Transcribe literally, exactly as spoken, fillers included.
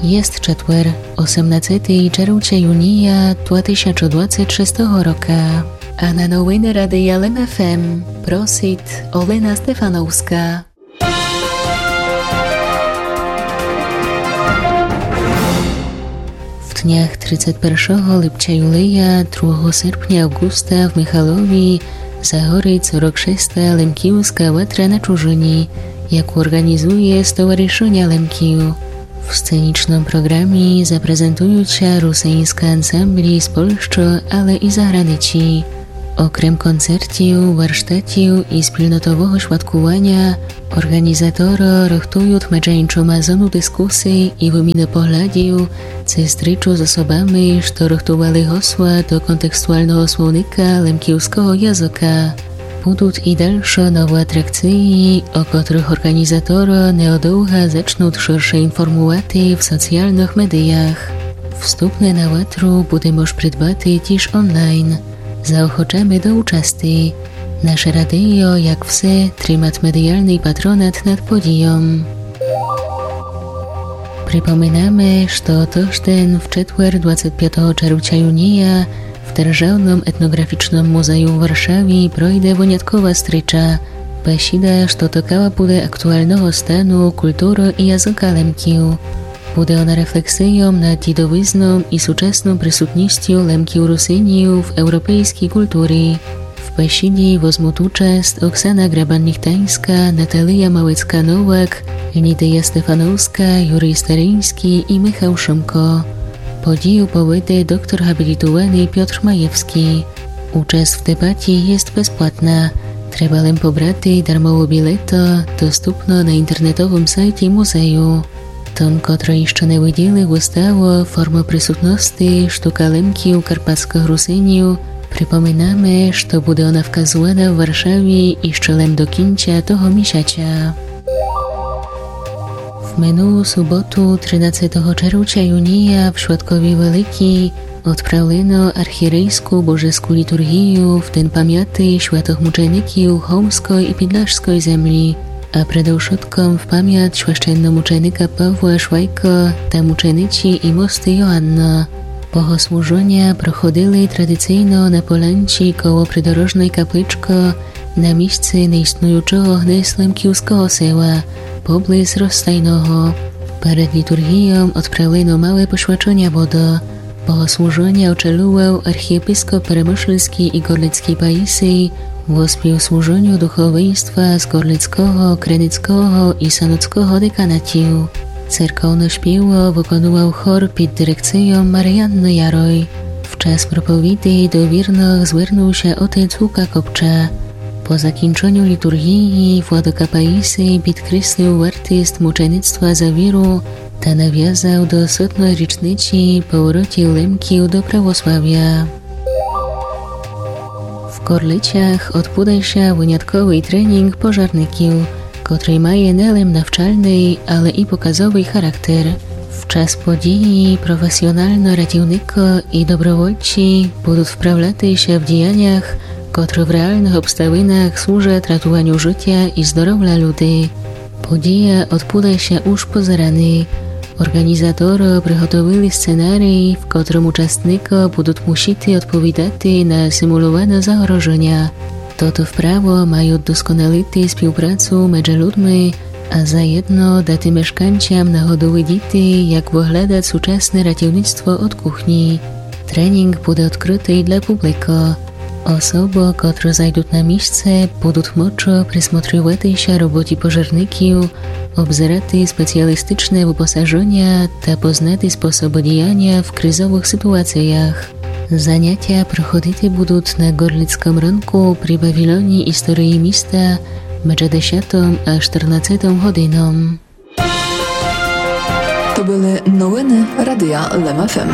Єст четвер, осемнадцетый червця юния два тисячы двадцет шестого рока. А на новины Радия Лем ФМ просит Олена Стефановска. В днях тридцет першого липця юлия, другого серпня авґуста в Михалові загорит сорок шеста Лемківска ватра на чужыні, яку орґанізує Стоваришыня Лемків. В сценічным програмі запрезентуют ся русиньскы ансамблі з Польщы, але і заграниці. Окрем концертів, варштатів і спільнотового святкуваня, орґанізаторы рыхтуют меджи иншыма зону дискусий і выміны поглядів, ци стрічу з особами, што рыхтували госла до контекстуалного словника лемківского языка. Будут і дальшы новы атракциі, о котрых орґанізаторы неодовга зачнут ширше информувати в соціалных медіях. Вступны на ватру буде мож придбати тіж онлайн. Заохочаме до участи. Наше радийо, як все, тримат медіалный патронат над подійом. Припоминаме, што тыжден в четвер, двадцет пятого червця юния, в Державным етноґрафічным музею в Варшаві пройде выняткова стріча, бесіда, што тыкала буде актуалного стану культуры і языка Лемків. Буде она рефлексийом над дідовизном і сучасном присутністю Лемків-Русинів в европейскій культурі. В бесіді возмут участ Оксана Грабан-Міхтаньска, Наталия Малецка-Новак, Лідия Стефановска, Юрій Стариньскій і Михал Шымко. Подію поведе доктор габлітуваный Пьотр Маєвскій. Участ в дебаті єст безплатна. Треба лем побрати дармову білету, доступну на інтернетовым сайті музею. Тым, котры іщы не виділи выставу «Формы присутности. Штука Лемків, карпатскых Русинів», припоминаме, што буде она вказувана в Варшаві іщы лем до кінця того місяця. В минулу суботу, тринадцетого червця юния, в Святкові Великій, одправлено архірейску божеску літургію в ден памяти святых мучеників Хомской і Підлашской землі, а предовшытком в памят священномученика Павла Швайка та мучениці і мосты Йоанна. Богослужыня проходили традицийно на полянці коло придорожной капличкы на місци неіснуючого гнес лемківского села, поблиз Розстайного. Перед літургійом одправлено мале посвячыня водо. Богослужыня очолював архієпископ Перемышльскій і Горлицкій паїсий, во співслужыню духовенства з Горлицкого, Криницкого і Саноцкого деканатів. Церковне шпіво выконував хор під дирекцийом Маріанны Ярой. В час проповіди до вірных звернув ся отець Лука Копча. По закінченю літургії владыка паїсий підкреслив вартіст мучеництва за віру та навязав до сотной річниці поворотів Лемків до православя. В Горлицях одбуде ся вынятковый тренінг пожарників, котрый має не лем навчальный, але і показовый характер. В час події професіонално ратівникы і добровольці будут вправляти ся в діянях, котры в реалных обставинах служат ратуваню жытя і здоровля люди. Подія одбуде ся уж позераный. Орґанізаторы приготовили сценарій, в котрым участникы будут мусити одповідати на симуловане загрожыня. Тото вправо мают досконалити співпрацу меджи людми, а заєдно дати мешканцям нагоду видіти, як выглядат сучасне ратівництво од кухні. Тренінг буде одкрытый для публикы. Особы, котры зайдут на місце, будут мочы присмотрювати ся роботі пожарників, обзерати спеціалістичне выпосажыня та познати способы діяня в кризовых ситуаціях. Занятя проходити будут на Горлицкым рынку при павіліоні історії міста меджи десятом а штырнадцетом годином. То были новины Радия Лем ФМ.